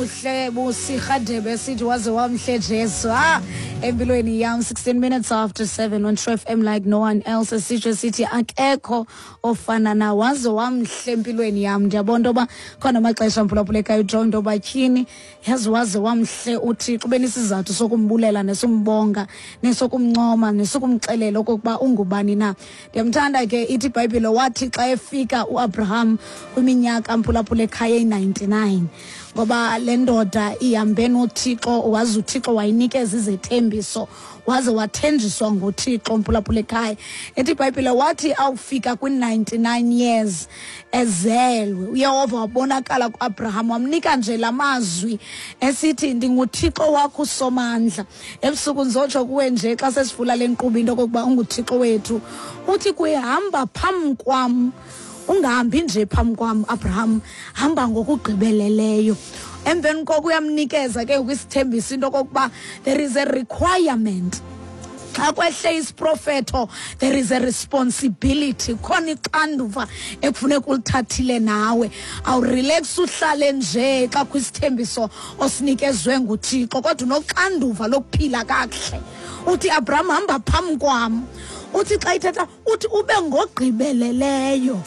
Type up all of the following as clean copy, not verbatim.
Buhle Busi Rhadebe sithi waze wamhle Jesu. Ah, empilweni yam, 16 minutes after 7 on True FM like no one else. Sitsho sithi akekho ofana na, waze wamhle empilweni yam. Ndiyabona into yoba khona amaxesha, mphulaphula ekhaya, ujonge into yoba tyhini, yazi waze wamhle uThixo, ube nesizathu sokumbulela nesombonga nesokumncoma nesokumxelela okokuba ungubani na. Ndiyamthanda ke. Ithi iBhayibhile wathi xa efika uAbraham kwiminyaka, mphulaphula ekhaya, eyi-99, ngoba le ndoda ihambe noThixo, waze uThixo wayinikeza izethembiso, waze wathenjiswa nguThixo, mphulaphula ekhaya. Ethi iBhayibhile wathi awufika kwi-99 years ezelwe, uYehova wabonakala kuAbraham, wamnika nje la mazwi esithi, "Ndinguthixo wakho uSomandla." Ebusuku ndizotsho kuwe nje xa sesivula le nkqubo into okokuba unguThixo wethu. Uthi kuye, "Hamba phambi kwam, ungahambi nje phambi kwam, Abraham, hamba ngokugqibeleleyo." Emveni koko uyamnikeza ke kwisithembiso into okokuba there is a requirement. Xa kwehle isiprofeto, there is a responsibility, khona ixanduva ekufuneka ulithathile nawe. Awurelax uhlale nje xa kho isithembiso osinikezwe nguThixo, kodwa unoxanduva lokuphila kakuhle. Uthi, "Abraham, hamba phambi kwam." Uthi xa ithetha uthi ube ngogqibeleleyo.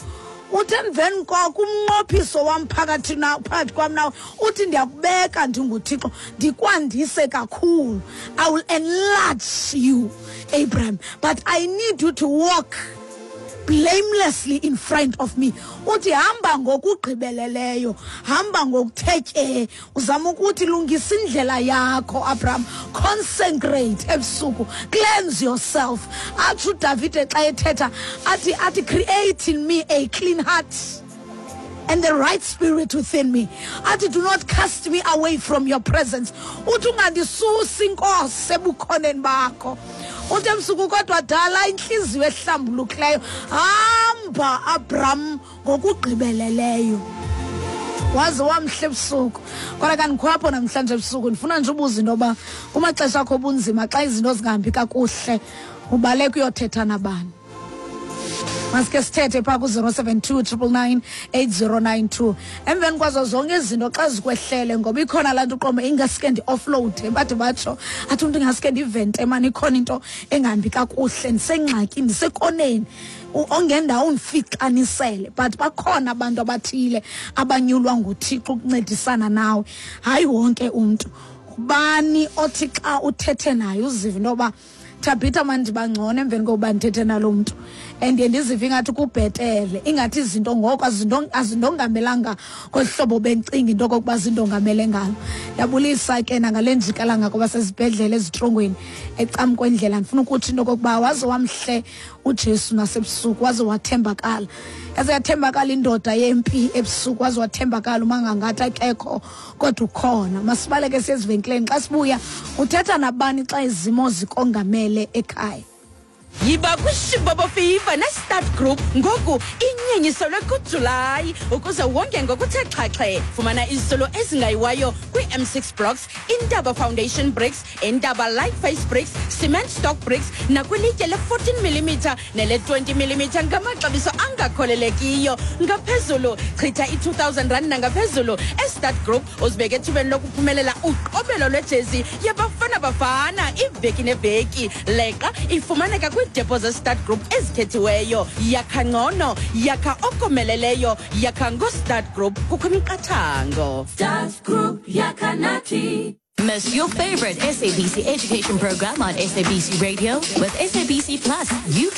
Uthi emveni koko umnqophiso wam phakathi na phakathi kwam nawe, uthi ndiyakubeka ndinguThixo, ndikwandise kakhulu. I will enlarge you, Abraham, but I need you to walk blamelessly in front of me. Uthi hamba ngokugqibeleleyo, hamba ngokuthe tye. Uzama ukuthi lungisa indlela yakho, Abraham, consecrate ebusuku, cleanse yourself. Atsho uDavide xa ethetha athi, "Create in me a clean heart and the right spirit within me." Athi, "Do not cast me away from your presence." Uthi, "Ungandisusi, Inkosi, ebukhoneni bakho." Uthi ebusuku kodwa dala intliziyo ehlambulukileyo. Hamba, Abraham, ngokugqibeleleyo. Waze wamhle ebusuku. Kodwa kandikhwapho namhlanje ebusuku, ndifuna nje ubuza into yoba kumaxesha akho obunzima, xa izinto zingahambi kakuhle, ubaleka uyothetha nabani? Masike sithethe phaa ku-072 999 8092. Emveni kwazo zonke izinto xa zikwehlele, ngoba ikhona laa nto uqombe ingaske ndi-offload, bade batsho athi umntu ingaske ndivente mani, ikhona into engahambi kakuhle, ndisengxakini, ndisekoneni, ongendawo undifixanisele. But bakhona abantu abathile abanyulwa nguThixo ukuncedisana nawe, hayi wonke umntu. Bani othi xa uthethe naye uzive into yoba, "Thabitha mani, ndiba ngcono emveni kokuba ndithethe nalo mntu, and ndiye ndizive ingathi kubhetele, ingathi izinto ngoku azindongamelanga ngolu hlobo bendicinga into okokuba zindongamele ngalo"? Ndiyabulisa ke nangale njikalanga kwabasezibhedlele, ezitrongweni, ecam kwendlela. Ndifuna ukutsho into okokuba waze wamhle uJesu nasebusuku, waze wathembakala, yaze yathembakala indoda yempi ebusuku, waze wathembakala uma ngangathi akekho kodwa ukhona. Masibaleke siye ezivenkileni. Xa sibuya, uthetha nabani xa izimo zikongamele ekhaya? Yiba kwishibobo fever ne-Start Group ngoku inyenyiselwe kuJulayi ukuze wonge ngokuthe xhaxhe. Fumana izitulo ezingayiwayo kwii-M6 blocks, Intaba foundation bricks, Intaba light face bricks, cement stock bricks nakwilitye le-14 mm nele-20 mm ngamaxabiso angakholelekiyo. Ngaphezulu, chitha i-2000 rand nangaphezulu e-Start Group, uzibeke ethubeni lokuphumelela uqobelo lwejezi yaBafana Bafana iveki neveki. Leqa ifumaneka kwiidepo ze-Start Group ezikhethiweyo. Yakha ngcono, yakha okomeleleyo, yakha ngo-Start Group. Kukho imiqathango. Start Group, Yakanati. Miss your favorite SABC education program on SABC Radio? With SABC Plus, you